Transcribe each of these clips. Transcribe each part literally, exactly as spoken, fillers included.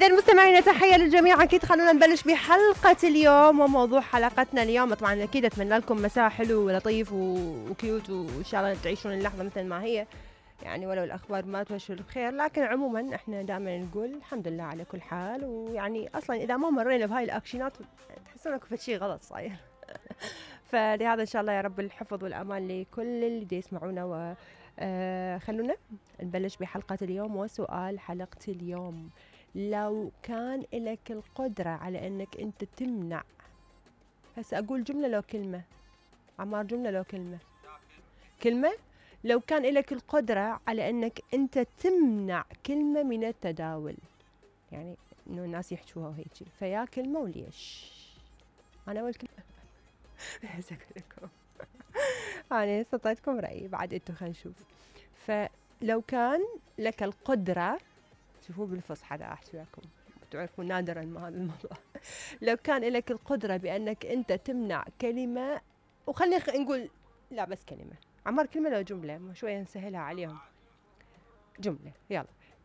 إذا مستمعينا تحية للجميع. أكيد خلونا نبلش بحلقة اليوم، وموضوع حلقتنا اليوم طبعا أكيد أتمنى لكم مساء حلو ولطيف وكيوت، وإن شاء الله تعيشون اللحظة مثل ما هي، يعني ولو الأخبار ما تبشر بخير، لكن عموما إحنا دائما نقول الحمد لله على كل حال. ويعني أصلا إذا ما مرينا بهاي الأكشنات تحسون إنكم في شيء غلط صاير. فلهذا إن شاء الله يا رب الحفظ والأمان لكل اللي دي يسمعونا. و آه خلونا نبلش بحلقة اليوم. وسؤال حلقة اليوم: لو كان لك القدرة على أنك أنت تمنع، هسه أقول جملة لو كلمة، عمار جملة لو كلمة، كلمة. لو كان لك القدرة على أنك أنت تمنع كلمة من التداول، يعني إنه الناس يحشوها وهيك، فيا كلمة وليش؟ أنا أول كلمة. بس أقول لكم أنا استطعتكم رأيي بعد أنتوا، خلينا نشوف. فلو كان لك القدرة، شوفوا بالفصحى دا أحكي لكم، تعرفوا نادرا ما هذا الموضوع. لو كان لك القدرة بأنك أنت تمنع كلمة، وخلينا نقول لا بس كلمة، عمار كلمة لو جملة، شوية نسهلها عليهم. جملة، يلا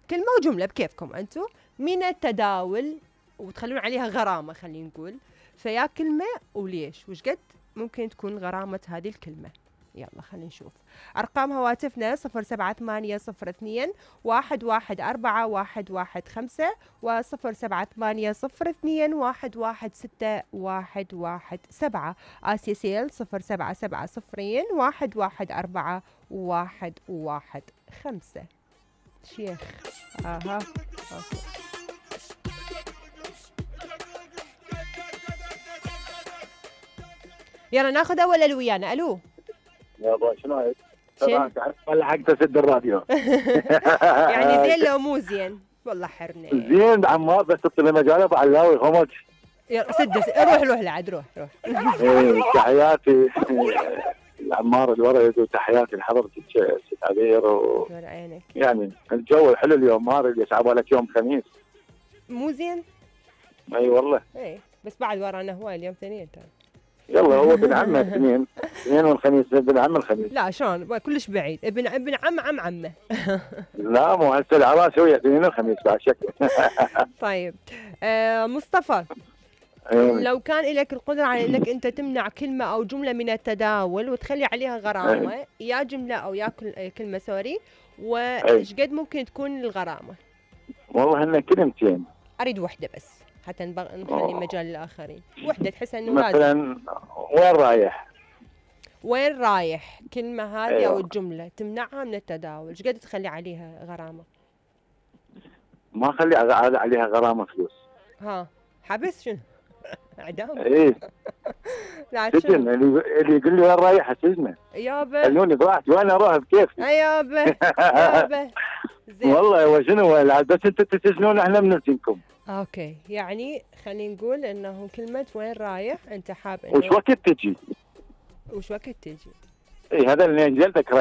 كلمة وجملة بكيفكم أنتوا، من التداول، وتخلون عليها غرامة خلينا نقول. فيا كلمة وليش، وش قد ممكن تكون غرامة هذه الكلمة؟ يلا خلينا نشوف. أرقام هواتفنا صفر سبعة ثمانية صفر اثنين واحد واحد أربعة واحد واحد خمسة وصفر سبعة ثمانية صفر اثنين واحد واحد ستة واحد واحد سبعة. آسيسيل صفر سبعة سبعة صفرين واحد واحد أربعة واحد واحد خمسة. شيخ آها أوكي. يلا ناخذ أول اللي ويانا. ألو يابا شنو هيك؟ طبعا تعرف ولا حق تسد الراديو. يعني زين لو مو زين والله حرني. زين عمار بس تطلع مجاله بعلاوي خمج. سد روح روح لعد روح روح. ايه تحياتي العمار الورد، وتحياتي لحضرتك ست عبير و... عينك. يعني الجو حلو اليوم، ما اريد يصعب لك يوم خميس. مو زين؟ اي والله. اي بس بعد ورانا هواي اليوم ثانيين ترى. يلا هو ابن عمه اثنين اثنين والخميس ابن عم الخميس. لا شلون كلش بعيد، ابن ابن عم عم عمه. لا مو هسه العراس هو اثنين الخميس بعد شكله. طيب آه مصطفى، أيوة. لو كان لك القدرة على انك انت تمنع كلمة او جملة من التداول وتخلي عليها غرامة، أيوة. يا جملة او يا كلمة سوري، وايش قد ممكن تكون الغرامة؟ والله هن كلمتين، اريد وحدة بس حتى نخلي مجال للآخرين. وحدة تحس انه مثلا لازم. وين رايح؟ وين رايح؟ كلمة هذه أيوة. او الجملة تمنعها من التداول، ايش قد تخلي عليها غرامة؟ ما خلي عليها غرامة فلوس. ها حبس شنو؟ اعدام؟ ايه سجن. اللي اللي يقول لي وين رايح سجنه. يابا خلوني براحتي وانا اروح بكيفي. يابا يابا زين والله هو شنو بس انتم تسجنون احنا بنسجنكم. اوكي يعني خلينا نقول انه كلمة وين رايح انت حاب انه وش وقت تجي؟ وش وقت تجي؟ اي هذا اللي جلدك رايح